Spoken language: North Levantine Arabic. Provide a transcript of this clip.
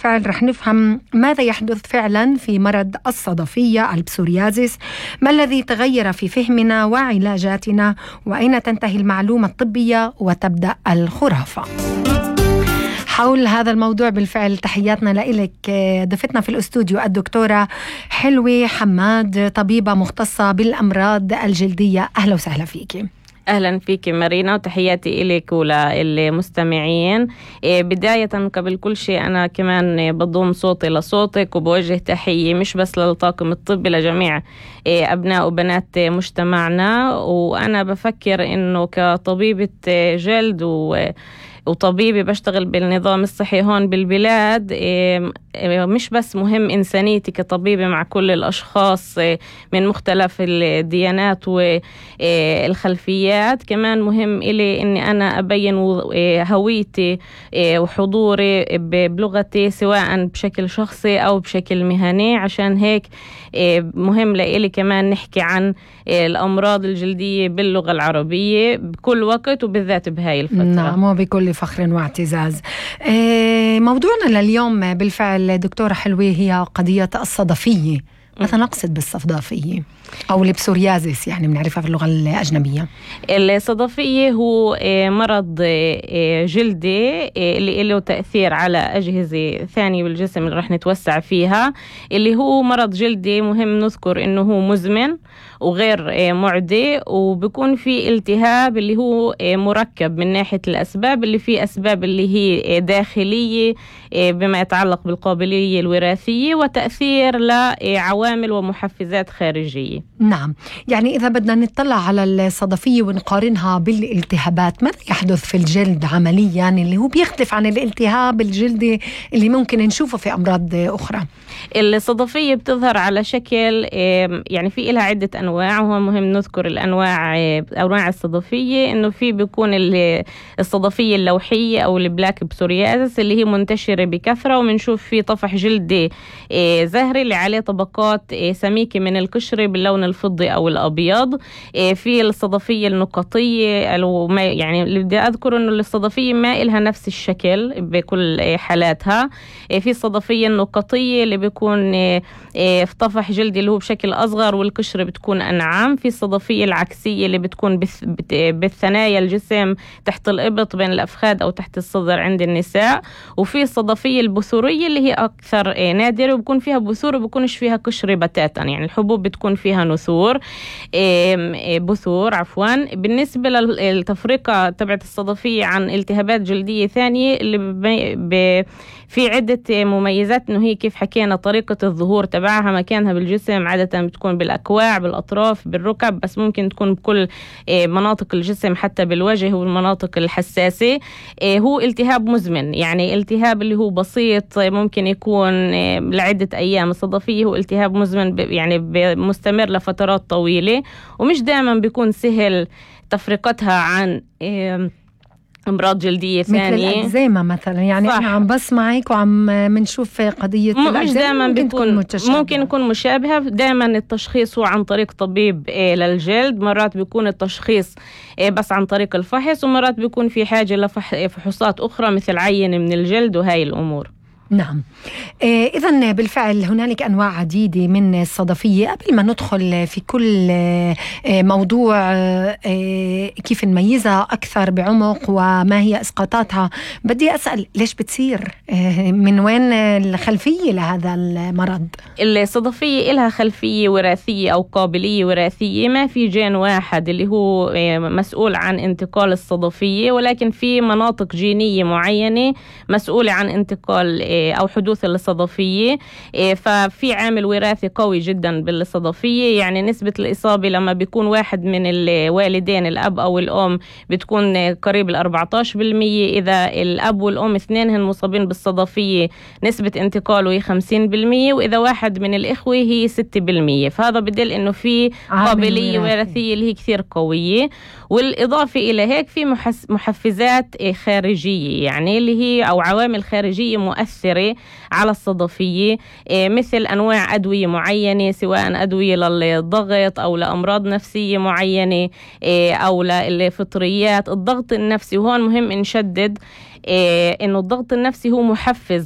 بالفعل رح نفهم ماذا يحدث فعلا في مرض الصدفية البسوريازيس، ما الذي تغير في فهمنا وعلاجاتنا، وأين تنتهي المعلومة الطبية وتبدأ الخرافة. حول هذا الموضوع بالفعل تحياتنا لإلك ضيفتنا في الأستوديو الدكتورة حلوة حماد، طبيبة مختصة بالأمراض الجلدية. أهلا وسهلا فيكي. أهلا فيك مارينا، وتحياتي إليك وللمستمعين. بداية قبل كل شيء أنا كمان بضم صوتي لصوتك وبوجه تحية مش بس للطاقم الطبي، لجميع أبناء وبنات مجتمعنا. وأنا بفكر إنه كطبيبة جلد وطبيبي بشتغل بالنظام الصحي هون بالبلاد، مش بس مهم إنسانيتي كطبيبة مع كل الأشخاص من مختلف الديانات والخلفيات، كمان مهم إلي إني أنا أبين هويتي وحضوري بلغتي سواء بشكل شخصي أو بشكل مهني. عشان هيك مهم لإلي كمان نحكي عن الأمراض الجلدية باللغة العربية بكل وقت وبالذات بهاي الفترة. نعم، وبكل فخر واعتزاز. موضوعنا لليوم بالفعل دكتورة حلوة هي قضية الصدفية. ماذا نقصد بالصدفية أو البسوريازيس؟ يعني بنعرفها في اللغة الأجنبية. الصدفية هو مرض جلدي اللي له تأثير على أجهزة ثانية بالجسم اللي رح نتوسع فيها، اللي هو مرض جلدي مهم نذكر إنه هو مزمن وغير معدي، وبيكون في التهاب اللي هو مركب من ناحية الأسباب، اللي فيه أسباب اللي هي داخلية بما يتعلق بالقابلية الوراثية، وتأثير لعوامل ومحفزات خارجية. نعم، يعني إذا بدنا نطلع على الصدفية ونقارنها بالالتهابات، ماذا يحدث في الجلد عمليا اللي هو بيختلف عن الالتهاب الجلدي اللي ممكن نشوفه في أمراض أخرى؟ الصدفية بتظهر على شكل يعني في إلها عدة أنواع، وهو مهم نذكر أنواع الصدفية. إنه في بيكون الصدفية اللوحية أو البلاك بسوريازيس اللي هي منتشرة بكثرة، ومنشوف في طفح جلدي زهري اللي عليه طبقات سميكة من القشرة باللون الفضي أو الأبيض. في الصدفية النقطية يعني اللي بدي أذكر إنه الصدفية ما إلها نفس الشكل بكل حالاتها. في الصدفية النقطية اللي بيكون في طفح جلدي اللي هو بشكل أصغر والقشرة بتكون أنعم. في الصدفية العكسية اللي بتكون بالثنايا الجسم تحت الإبط بين الأفخاذ أو تحت الصدر عند النساء. وفي الصدفية البثورية اللي هي أكثر نادرة وبكون فيها بثور وبكونش فيها قشرة بتاتا، يعني الحبوب بتكون فيها بثور عفوا. بالنسبة للتفرقة تبعت الصدفية عن التهابات جلدية ثانية اللي في عدة مميزات، إنه هي كيف حكينا طريقة الظهور تبعها، مكانها بالجسم عادة بتكون بالأكواع بالأطراف بالركب، بس ممكن تكون بكل مناطق الجسم حتى بالوجه والمناطق الحساسة. هو التهاب مزمن، يعني التهاب اللي هو بسيط ممكن يكون لعدة أيام. الصدفية هو التهاب مزمن يعني مستمر لفترات طويلة، ومش دائما بيكون سهل تفرقتها عن أمراض جلدية ثانية مثل الأكزيما مثلا. يعني صح. أنا عم بسمعك وعم منشوف قضية الأكزيما ممكن يكون مشابهة. دائما التشخيص هو عن طريق طبيب للجلد، مرات بيكون التشخيص بس عن طريق الفحص، ومرات بيكون في حاجة لفحوصات أخرى مثل عينة من الجلد وهاي الأمور. نعم. إذن بالفعل هنالك أنواع عديدة من الصدفية. قبل ما ندخل في كل موضوع كيف نميزها أكثر بعمق وما هي إسقاطاتها، بدي أسأل ليش بتصير؟ من وين الخلفية لهذا المرض؟ الصدفية إلها خلفية وراثية أو قابلية وراثية. ما في جين واحد اللي هو مسؤول عن انتقال الصدفية، ولكن في مناطق جينية معينة مسؤولة عن انتقال أو حدوث الصدفية. ففي عامل وراثي قوي جدا بالصدفية، يعني نسبة الإصابة لما بيكون واحد من الوالدين الأب أو الأم بتكون قريب 14%. إذا الأب والأم اثنينهم مصابين بالصدفية نسبة انتقاله هي 50%، وإذا واحد من الإخوة هي 6%. فهذا بدل إنه في قابلية وراثية اللي هي كثير قوية. والإضافة إلى هيك في محفزات خارجية، يعني اللي هي أو عوامل خارجية مؤثرة على الصدفية، مثل أنواع أدوية معينة، سواء أدوية للضغط أو لأمراض نفسية معينة أو للفطريات. الضغط النفسي، وهون مهم نشدد إنه الضغط النفسي هو محفز